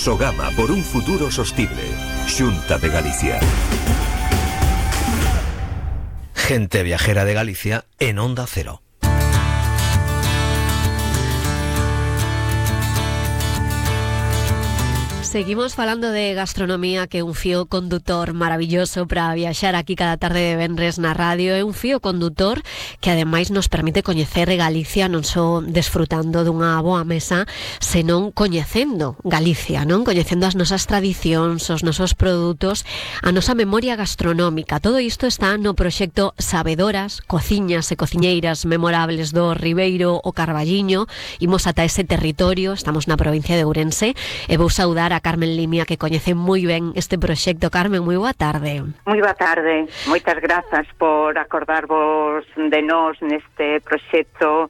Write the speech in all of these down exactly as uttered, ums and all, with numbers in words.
Sogama por un futuro sostible. Xunta de Galicia. Gente viajera de Galicia en Onda Cero. Seguimos falando de gastronomía, que é un fío condutor maravilloso para viaxar aquí cada tarde de venres na radio. É un fío condutor que ademais nos permite coñecer Galicia non só desfrutando dunha boa mesa, senón coñecendo Galicia, non? Coñecendo as nosas tradicións, os nosos produtos, a nosa memoria gastronómica. Todo isto está no proxecto Sabedoras, cociñas e cociñeiras memorables do Ribeiro o Carballiño. Imos ata ese territorio, estamos na provincia de Ourense, e vou saudar a Carmen Limia, que coñece moi ben este proxecto. Carmen, moi boa tarde. Moi boa tarde. Moitas grazas por acordarvos de nós neste proxecto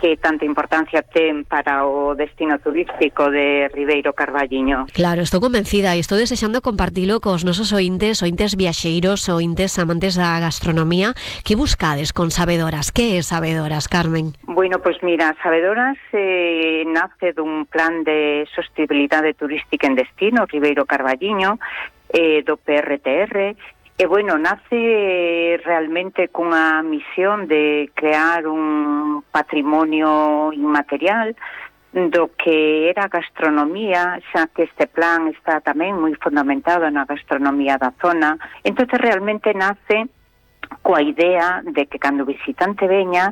que tanta importancia ten para o destino turístico de Ribeiro Carballiño. Claro, estou convencida e estou desexando compartilo cos nosos ointes, ointes viaxeiros, ointes amantes da gastronomía. Que buscades con Sabedoras? Que é Sabedoras, Carmen? Bueno, pois mira, Sabedoras eh, nace dun plan de sostenibilidade turística en destino, Ribeiro Carballiño, eh, do P R T R. E, bueno, nace realmente cunha misión de crear un patrimonio inmaterial do que era a gastronomía, xa que este plan está tamén moi fundamentado na gastronomía da zona. Entón, realmente nace coa idea de que cando o visitante veña,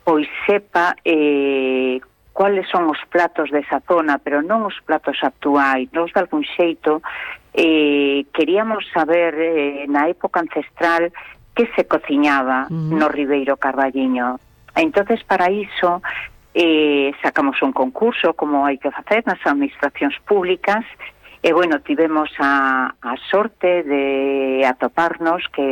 pois sepa eh, cuáles son os platos desa zona, pero non os platos actuais. Nos, de algún xeito, eh, queríamos saber eh, na época ancestral que se cociñaba mm. no Ribeiro Carballiño. Entonces, para iso, eh, sacamos un concurso, como hai que facer nas administracións públicas, e, bueno, tivemos a, a sorte de atoparnos que